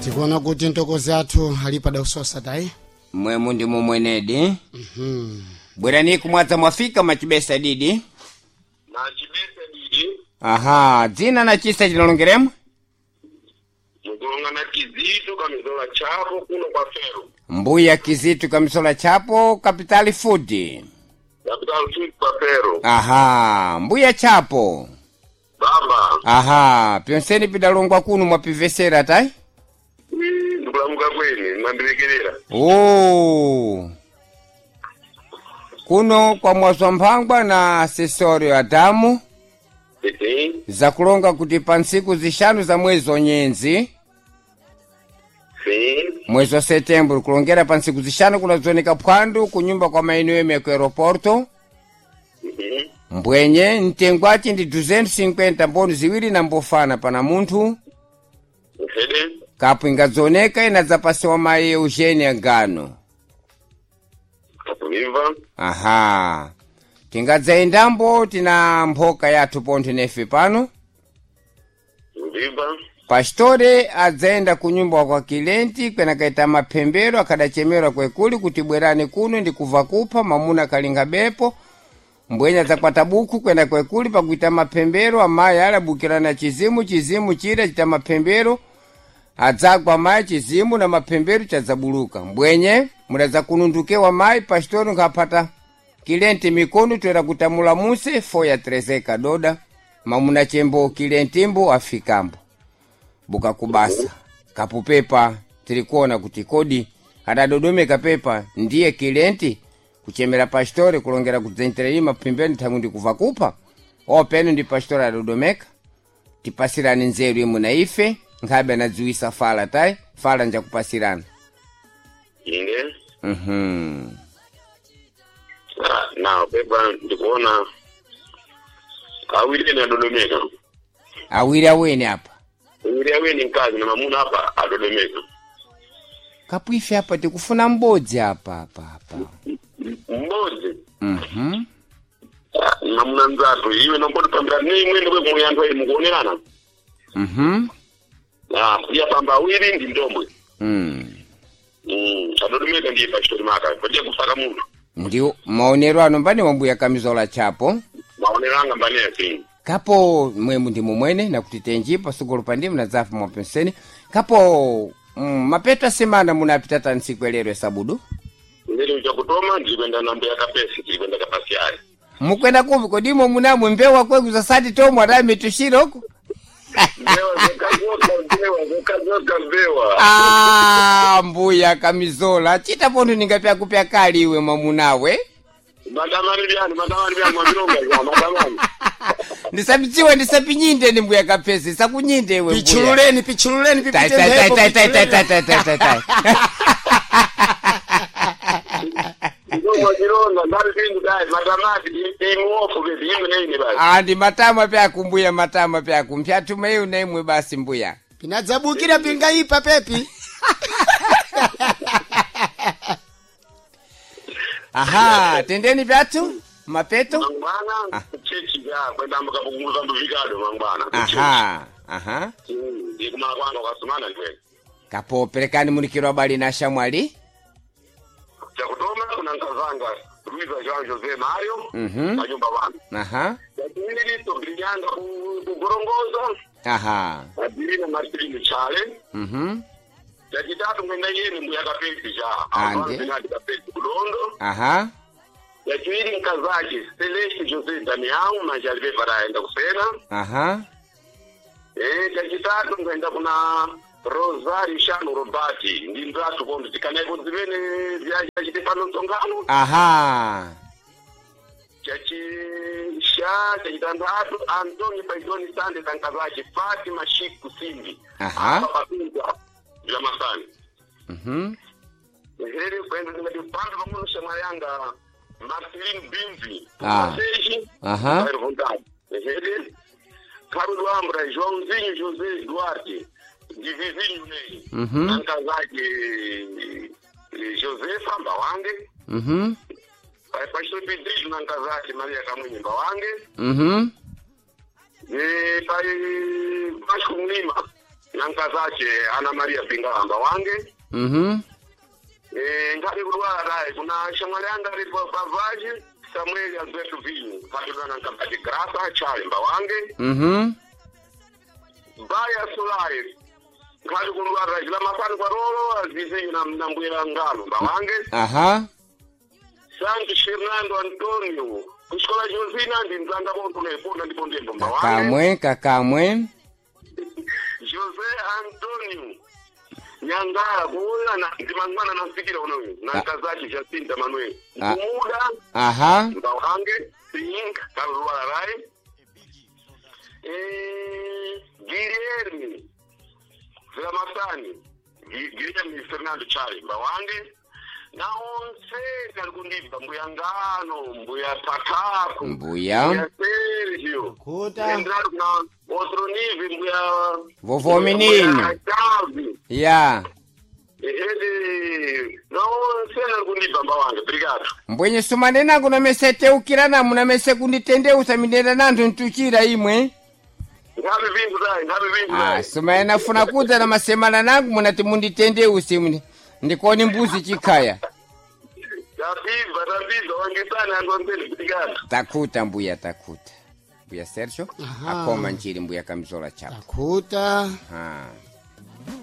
Tikuona kuti ntokozi athu ali padausosa tayi. Mwemu ndi mumwenedi. Bwerani kumwadza mwafika machibesa didi. Machibesa didi. Aha, dzina na chisa chinalongeremo? Mukulonga na Kizito kamizola chapo kuno kwa Fero. Mbuya Kizito kamisola chapo Capital Food. Capital Food kwa Fero. Aha, mbuya chapo. Baba. Aha, pyonseni pidalongwa kuno mwapivesera tayi? Ndikulamuka kweni, mwandilekerera. Oh. Kuno kwa mwazwa mphangwa na Sesorio Adamu zakulonga kuti pa ntsiku zixanu za mwezi onyenzi mwezi wa setembro kulongera pa ntsiku zixanu kunadzooneka phwandu kunyumba kwa mainu ku aeroporto mbwenye mtengo aci ndi 250 mboni ziwiri na mbofana pana munthu kapu ingadzoneka inadzapasiwa mayi Eugenia Gano. Kapulimva. Aha, tingadzayendambo tina mphoka yathu pontho nefe pano. Mvimba. Pastore adzayenda kunyumba kwa kilenti kwenakaita maphembero akadachemerwa kwekuli kuti bwerani kuno ndikubva kupha mamuna akalinga bepo mbwenya adzakwata buku kwenda kwekuli pakuita maphembero amayi alabukirana chizimu chizimu chira chita maphembero adzagwa mayi chizimu na maphembero chadzabuluka mbwenye mudadzakunundukewa mayi pastori nkhapata kilenti mikono toera kutamula muse foya trezeka doda mamuna chembo kilentimbo afikambo buka kubasa kapupepa tilikuona kuti kodi adadodomeka pepa ndiye kilenti kuchemera pastori kulongera kudzentereri maphimbeni thangu ndikuva kupha openo ndi pastori adodomeka tipasirani nzeru imwe na ife nkhabe anadziwisa fala tayi fala njakupasirana. Ine. Mhm. Na pepa ndikuona awiri ene adodomeka. Awiri aweni apa. Awiri aweni mkazi na mamuna apa adodomeka. Kapu ife apa tikufuna mbodzi apa apa apa. Mbodzi. Mhm. Mamuna nzatu iwe nompoti pambira ne imwe ndikwe kumuyanthu ayi mukuonerana. Mhm. Ah, iya pamba awiri ndi ndombwe. Mm. Adodomeka ndiye pachitori maka patia kusaka munthu. Ndiwo maonero ano mbani wambuya kamizola chapo. Maonero anga mbani yasini. Kapo mwemu ndi mumwene nakuti tenji pasukulu pandimu nadzafa mwapenseni kapo mapeto asemana munapita ntsiku elero esabudu. Ndiri chakutoma ndirikwenda nambo ya kapesi tirikwenda kapasi ayi. Mukwenda kupi kodimo munamwe mbewa kwegu zasati tomwe adayi mitushiroko. Mbewa zokazoka mbewa zokazoka mbewa. Ah, mbuya kamizola chita pontho ningapyakupya kali iwe mwamunawe. Matamani byani matamani byani mwamilonga ya matamani. Ndisapidziwe ndisapinyinde ni mbuya kapesi sakunyinde iwe mbuya. Pichululeni pichululeni Tai, pipite tai, tai, mphepo tai, tai, tai, pichululeni. tai, tai, tai, tai. Ndoma chilonga ndali pindu dai matamati imuofu bezi imwe neine basi. Ah, ndi matama pyaku mbuya matama pyaku mpyatuma iyu na imwe basi mbuya. Pinadzabukira pingaipa pepi. Aha, tendeni pyathu mapeto. Mangwana chechi ya kwenda mkapunguza mbuvikado mangwana. Aha, aha. Ndikumala kwanga kwasumana ndiwe. Kapo perekani munikiro abali na shamwali. Chakutoma kuna nkazanga Luiza João José Mario panyumba pano. Aha. Chachiwiri tobrinyanga kugorongoza Aha. Adirina Marcelino Chale. Chachitatu mwenda yeni mbuya kapesi cha. Ande. Ande. Kapesi kudondo. Aha. Chachiwiri nkazake Celeste José Damião manje alipe paraenda kusena. Aha. Chachitatu mwenda kuna Rosario Shano Robati ndi nzathu kondo tikanaiko zimene vyachite pano msonkhano. Aha. Chachisha chachitandatu Antônio Paidoni Sande Tankazake Fatima Chico Simbi. Aha. Apa papinza vya masani. Here kwenda ndingati pandu pang'ono shamwali yanga Marceline Bimbi. Ah. Seji. Aha. Bairro Vontade. Here Carlos Ambra, Joãozinho José Duarte, de vizinho nei. Tankazake Josefa Mbawange. Pastor Pedrinho Nankazake Maria Kamwinyi Mbawange. Pai Vasco Mlima. Na nkazache Ana Maria Pingala mbawange. Mhm. Ngati kudwala tayi kuna shamwali anga alipo pavaji Samuel Alberto Vinho patulana nkabati Graça Chale mbawange. Mhm. Baya Solari ngati kudwala tayi masani kwa rolo azizinyu na mbwira ngalo mbawange. Aha. Santos Fernando Antonio kuxikola Josina ndi mzanga bonto neponda ndipo ndembo mbawange. Kakamwe kakamwe. José Antonio Nyangala kuona na ndimangwana nasikira unoyu na nkazake Jacinta Manuel Ah. kumuda Aha. mbawange sink kalwala rai Guilherme Vilamasani Guilherme Fernando Chale mbawange na onse ali kundibva mbuya ngano mbuya tataku Mbuya. mbuya Sergio Kuta. endrado kuna outro nível mbuya Vovó menino. mbuya Chaves Ya. Ele não sei não kundibva mbawange obrigado. Mbwenye sumane nangu nameseteukira namu namese kunditendeusa mindenda nanthu ntuchira imwe. Ngabe vintu dai, ngabe vintu Ah, dai. sumane nafuna kudza na masemana nangu munati munditendeuse muni. Ndikoni mbuzi chikhaya. Tapibva, tapibva wangesana antu ambeni obrigado. Takuta mbuya takuta. Mbuya Sergio Aha. akoma njiri mbuya kamzola chapo. Takuta. Ah.